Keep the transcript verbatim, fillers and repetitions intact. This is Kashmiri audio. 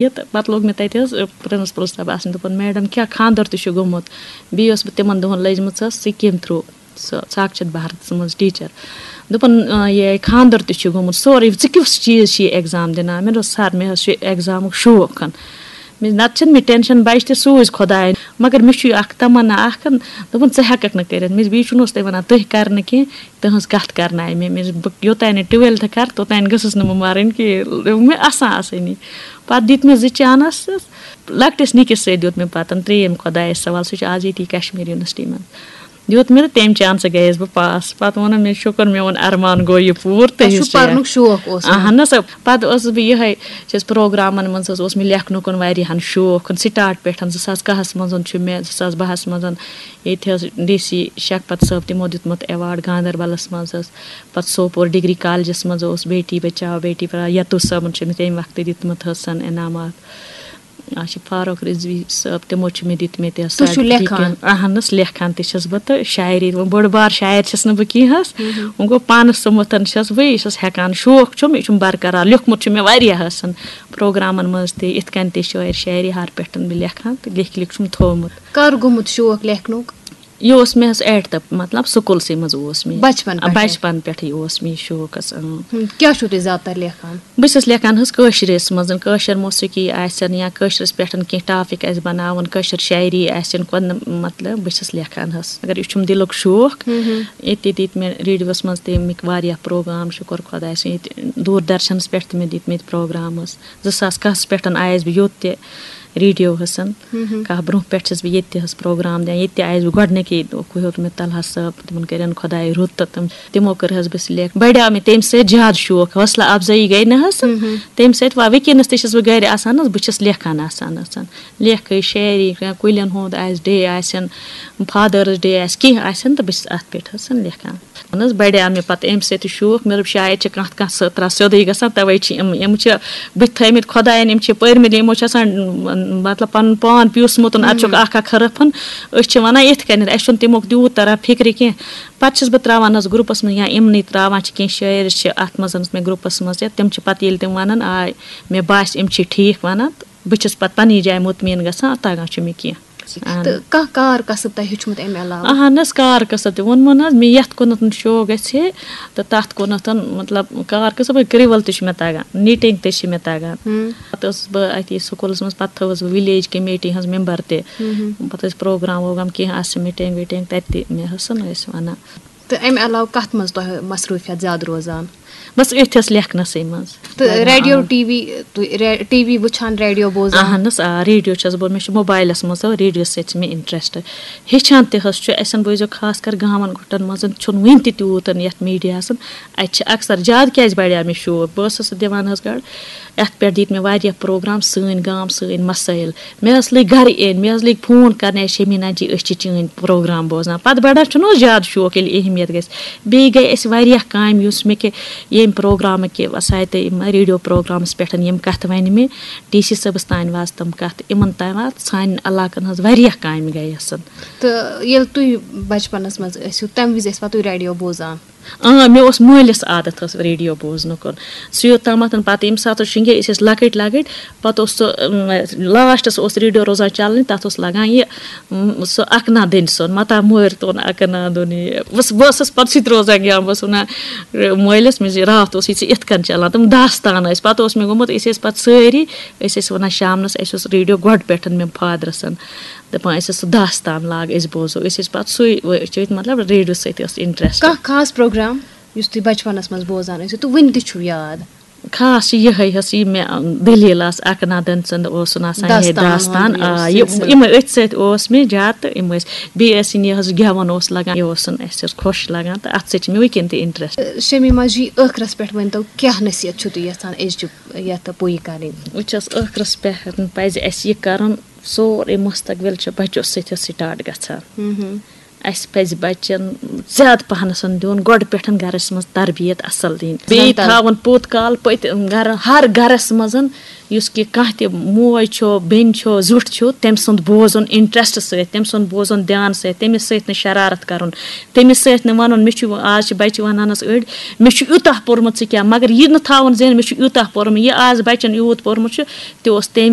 یہِ تہٕ پَتہٕ لوٚگ مےٚ تَتہِ حظ پرنسپل صٲب آسنہِ، دوٚپُن، "میڈم، کیٛاہ خانٛدر تہِ چھُ گوٚمُت؟" بیٚیہِ ٲس بہٕ تِمن دۄہن لٔجمٕژ حظ سکیٖم تھرٛوٗ، سۄ ساکشت بھارتس منٛز ٹیٖچر۔ دوٚپُن، "آ، یہِ خانٛدر تہِ چھُ گوٚمُت سورُے، ژٕ کیُس چیٖز چھِ یہِ ایگزام دِنان؟" مےٚ دوٚپ، "سر، مےٚ حظ چھُ ایگزامُک شوق ہن۔ مےٚ، نتہٕ چھُنہٕ مےٚ ٹینشن، بچہِ تہِ سوٗزۍ خۄداین، مگر مےٚ چھُ یہِ اکھ تمنا اکھ ہن۔" دوٚپُن، "ژٕ ہٮ۪ککھ نہٕ کٔرِتھ۔" مےٚ بیٚیہِ چھُنہٕ اوس تۄہہِ ونان، تُہۍ کرنہٕ کینٛہہ۔ تُہٕنٛز کَتھ کَرنایہِ مےٚ۔ مےٚ، بہٕ یوٚتانۍ نہٕ ٹُوٮ۪لتھٕ کَرٕ، توٚتانۍ گٔژھٕس نہٕ بہٕ مَرٕنۍ کِہیٖنۍ۔ مےٚ آسان آسٲنی۔ پَتہٕ دِتۍ مےٚ زٕ چانَس۔ لۄکٹِس نِکِس سۭتۍ دیُت مےٚ پَتہٕ ترٛیٚیِم خۄدایَس سوال، سُہ چھُ آز ییٚتی کشمیٖر یونیورسٹی منٛز۔ دیُت مےٚ تہٕ تَمہِ چانسہٕ گٔیَس بہٕ پاس۔ پَتہٕ ووٚنُم مےٚ، "شُکُر، میون اَرمان گوٚو یہِ پوٗرٕ تۄہہِ چھُ تُہِنٛز ٹرٛین۔" پَرنُک شوق اوس نہٕ؟ اَہَن حظ، پَتہٕ ٲسٕس بہٕ یِہوٚے، چھَس پروگرامَن منٛز حظ اوس مےٚ لیکھنُکُن واریاہَن شوق۔ سِٹاٹ پٮ۪ٹھ زٕ ساس کاہَس منٛز چھُ مےٚ، زٕ ساس بَہَس منٛز ییٚتہِ حظ ڈی سی شکپت صٲب تِمو دیُتمُت ایوارڈ گاندربلس منٛز حظ۔ پتہٕ سوپور ڈگری کالجس منٛز اوس بیٹی بچاو بیٹی پڑھاو، یتو صٲبن چھُ مےٚ تمہِ وقتہٕ دیُتمُت حظ سن انعامات۔ آ، چھِ فاروق رضوی صٲب، تِمو چھِ مےٚ دِتمٕتۍ حظ تُہۍ چھِو certificate۔ لیکھان؟ اہن حظ، لیکھان تہِ چھَس بہٕ تہٕ شاعری، وۄنۍ بٔڑ بار شاعر چھَس نہٕ بہٕ کینٛہہ حظ۔ مہم۔ وۄنۍ گوٚو پانَس سُمبتھن چھَس بہٕ، یہِ چھَس ہٮ۪کان، شوق چھُم، یہِ چھُم برقرار۔ لیوٚکھمُت چھُ مےٚ واریاہ حظ سن، پروگرامن منٛز تہِ، یِتھ کٔنۍ تہِ شٲعر شاعری ہر پٮ۪ٹھ بہٕ لیکھان تہٕ لیکھۍ لیکھۍ چھُم تھوٚومُت۔ کر گوٚمُت شوق لیکھنُک؟ یہِ اوس مےٚ حظ ایٹتھٕ، مطلب، سکوٗلسٕے منٛز اوس مےٚ۔ بچپن پٮ۪ٹھے؟ بچپن پٮ۪ٹھٕے اوس مےٚ یہِ شوق حظ، اۭں۔ ہُم، کیٛاہ چھِو تُہۍ زیادٕ تر لیکھان؟ بہٕ چھَس لیکھان حظ کٲشرِس منٛز، کٲشِر موسیقی آسن یا کٲشرِس پٮ۪ٹھ کینٛہہ ٹاپِک آسہِ بناوُن، کٲشِر شاعری آسن، کُنہِ، مطلب، بہٕ چھَس لیکھان حظ۔ مگر یہِ چھُم دِلُک شوق۔ ہُم، ہُم۔ ییٚتہِ تہِ دِتۍ مےٚ ریڈیوَس منٛز تہِ اَمِکۍ واریاہ پروگرام، شُکُر خۄدایَس کُن۔ ییٚتہِ دوٗر درشنَس پٮ۪ٹھ تہِ مےٚ دِتۍ مٕتۍ پروگرام حظ۔ زٕ ساس کاہَس پٮ۪ٹھ آیَس بہٕ یوٚت تہِ۔ ریڈیو حسن۔ ہُم ہُم۔ کانٛہہ برونٛہہ پٮ۪ٹھ چھَس بہٕ ییٚتہِ تہِ حظ پروگرام دِوان، ییٚتہِ تہِ آیَس بہٕ گۄڈٕنِکی دۄہ، ہیوٚت مےٚ طلحہ صٲب، تِمَن کٔرِن خۄدایہِ رُت تہٕ تِم، تِمو کٔر حظ بہٕ سِلیکٹ۔ بڑیو مےٚ تَمہِ سۭتۍ زیادٕ شوق، حوصلہٕ افزٲیی گٔے نہ حظ۔ ہُم ہُم۔ تَمہِ سۭتۍ وا-، وٕنکیٚنَس تہِ چھَس بہٕ گَرِ آسان حظ، بہٕ چھَس لیکھان آسان آسان۔ لیکھٕے شاعری، کانٛہہ کُلٮ۪ن ہُنٛد آسہِ، ڈے آسن، فادٲرٕس ڈے آسہِ، کینٛہہ آسن تہٕ بہٕ چھَس اَتھ پٮ۪ٹھ حظ لیکھان۔ اہن حظ، بڑیو مےٚ پتہٕ اَمہِ سۭتۍ شوق، مےٚ دوٚپ، شاید چھِ کانٛہہ، کانٛہہ سۄ ترٛا سیوٚدُے گژھان، تَوَے چھِ یِم، یِم چھِ بٔتھۍ تھٲومٕتۍ خۄدایَن، یِم چھِ پٔرمٕتۍ، یِمو چھِ آسان، مطلب، پَنُن پان پیوٗسمُت، اَتھ چھُکھ ہُم۔ اَکھ اَکھ حرف۔ أسۍ چھِ وَنان یِتھ کٔنٮ۪تھ، اَسہِ چھُنہٕ تَمیُک تیوٗت تَران فِکرِ کینٛہہ۔ پَتہٕ چھَس بہٕ ترٛاوان حظ گرُپَس منٛز، یا یِمنٕے ترٛاوان چھِ، کینٛہہ شٲعر چھِ اَتھ منٛز، مےٚ گرُپَس منٛز، یا تِم چھِ پَتہٕ ییٚلہِ تِم وَنان، آے، مےٚ باسہِ، یِم چھِ ٹھیٖک وَنان، تہٕ بہٕ چھَس پَتہٕ پَنٕنۍ جایہِ مُطمِن گژھان، تَتھ تَگان چھُ مےٚ کینٛہہ۔ اہن۔ تہٕ کانٛہہ کار کسب تۄہہِ ہیوٚچھمُت اَمہِ علاوٕ؟ اہن حظ، کار کسب تہِ ووٚنمو نہ حظ، مےٚ یَتھ کُنَتھ شوق گژھِ ہے تہٕ تَتھ کُنَتھ، مطلب، کار کسب، کرٛوَل تہِ چھُ مےٚ تَگان، knitting تہِ چھِ مےٚ تَگان۔ ہُم۔ پَتہٕ ٲسٕس بہٕ اَتی سکوٗلَس منٛز، پَتہٕ تھٲوٕس بہٕ وِلیج کمیٹی ہٕنٛز مٮ۪مبر تہِ۔ ہُم ہُم۔ پَتہٕ ٲسۍ پروگرام ووگرام کینٛہہ آسہِ، meeting ویٖٹِنٛگ، تَتہِ تہِ مےٚ حظ ٲسۍ وَنان۔ تہٕ اَمہِ علاوٕ کَتھ منٛز تۄہہِ مصروٗفیت زیادٕ روزان؟ بس أتھۍ ٲس لیکھنَسٕے منٛز۔ تہٕ ریڈیو، آ۔ ٹی وی، تُہۍ رے-، ٹی وی وٕچھان، ریڈیو بوزان؟ اہن حظ، آ، ریڈیو چھَس بہٕ، مےٚ چھُ موبایلَس منٛز تہٕ ریڈیو سۭتۍ چھِ مےٚ interest۔ ہیٚچھان تہِ حظ چھُ، اَسٮ۪ن بوٗزِو، خاص کر گامَن گُٹَن منٛز چھُنہٕ وٕنہِ تہِ تیوٗت یَتھ میٖڈیاہَس۔ اَتہِ چھِ اکثر زیادٕ کیٛازِ بڑیو مےٚ شوق، بہٕ ٲسٕس دِوان حظ گۄڈٕ، یَتھ پٮ۪ٹھ دِتۍ مےٚ واریاہ پروگرام، سٲنۍ گام، سٲنۍ مسٲیِل۔ مےٚ ٲس لٔگۍ گرٕ یِنۍ، مےٚ حظ لٔگۍ فون کرنہِ، "شمیٖنا جی، أسۍ چھِ چٲنۍ پروگرام بوزان۔" پتہٕ بڑان چھُنہٕ حظ زیادٕ شوق، ییٚلہِ اہمیت گژھِ۔ بیٚیہِ گٔے اَسہِ واریاہ کامہِ، یُس مےٚ کہِ ییٚمہِ پروگرامہٕ کہِ وسایتہٕ، یِم ریڈیو پروگرامس پٮ۪ٹھ یِم کتھٕ ونہِ مےٚ، ڈی سی صٲبس تام واتہٕ تِم کتھٕ، یِمن تام واتہٕ، سانٮ۪ن علاقن ہٕنٛز واریاہ کامہِ گٔیَسن۔ تہٕ ییٚلہِ تُہۍ بچپنس منٛز ٲسِو، تمہِ وِزِ ٲسوا تُہۍ ریڈیو بوزان؟ اۭں، مےٚ اوس مٲلِس عادت حظ ریڈیو بوزنُک۔ سُہ یوٚتامَتھ پَتہٕ ییٚمہِ ساتہٕ حظ شِنگے أسۍ ٲسۍ لۄکٕٹۍ لۄکٕٹۍ، پَتہٕ اوس سُہ، اۭں، لاسٹَس اوس ریڈیو روزان چَلنٕے، تَتھ اوس لَگان یہِ، اۭں، سُہ اَکنا دٔنۍ سُنٛد، مَتا مٲرۍ تون اَکنا دُنہِ۔ بہٕ ٲسٕس، بہٕ ٲسٕس پَتہٕ سُہ تہِ روزان گٮ۪وان، بہٕ ٲسٕس وَنان، مٲلِس، مےٚ زِ راتھ اوس یہِ ژےٚ یِتھ کٔنۍ چَلان، تِم داستان ٲسۍ۔ پَتہٕ اوس مےٚ گوٚمُت، أسۍ ٲسۍ پَتہٕ سٲری، أسۍ ٲسۍ وَنان شامنَس، اَسہِ اوس ریڈیو گۄڈٕ پٮ۪ٹھ مےٚ فادرَسَن۔ دَپان ٲسِس، "سُہ داستان لاگ، أسۍ بوزو"، أسۍ ٲسۍ پَتہٕ سُے وٕچھِتھ، مطلب، ریڈیو سۭتۍ ٲس interest۔ کانٛہہ خاص پروگرام یُس تُہۍ بچپنس منٛز بوزان ٲسِو تہٕ وٕنہِ تہِ چھُو یاد؟ خاص چھِ یِہوٚے حظ، یہِ مےٚ، اَم، دٔلیٖل آسہٕ، اَکہٕ نادَن سٕنٛد اوسُن آسان، یِہوٚے داستان داستان، ہُنٛد یہِ آ، یہِ، سلسلہٕ۔ یِمَے أتھۍ سۭتۍ اوس مےٚ زیادٕ تہٕ یِم ٲسۍ، بیٚیہِ ٲسِن یہِ حظ گٮ۪وَن اوس لَگان، یہِ اوسُن اَسہِ حظ خۄش لَگان تہٕ اَتھ سۭتۍ چھِ مےٚ وٕنکٮ۪ن تہِ interest۔ شمیٖما جی، ٲخرس پٮ۪ٹھ ؤنۍتو، کیٛاہ نصیحت چھُو تُہۍ یژھان أزچہِ یَتھ پُیہِ کَرٕنۍ؟ بہٕ چھَس ٲخرس پٮ۪ٹھ، پَزِ اَسہِ یہِ کَرُن، سورُے مستقبل چھُ بچو سۭتۍ start گژھان۔ ہُم ہُم۔ اَسہِ پَزِ بَچَن زیادٕ پَہنَس دیُن گۄڈٕ پٮ۪ٹھ گَرَس منٛز تربیت اَصٕل دِنۍ۔ بیٚیہِ تھاوُن پوٚت کال پٔتۍ گَرٕ، ہر گَرَس منٛز، یُس کہِ کانٛہہ تہِ موج چھُ، بیٚنہِ چھُ، زیُٹھ چھُ، تٔمۍ سُنٛد بوزُن interest سۭتۍ، تٔمۍ سُنٛد بوزُن دھیان سۭتۍ، تٔمِس سۭتۍ نہٕ شرارت کَرُن، تٔمِس سۭتۍ نہٕ وَنُن، مےٚ چھُ، آز چھِ بَچہِ وَنان حظ أڑۍ، مےٚ چھُ یوٗتاہ پوٚرمُت، ژٕ کیٛاہ، مگر یہِ نہٕ تھاوُن ذہن، مےٚ چھُ یوٗتاہ پوٚرمُت، یہِ آز بَچَن یوٗت پوٚرمُت چھُ، تہِ اوس تٔمۍ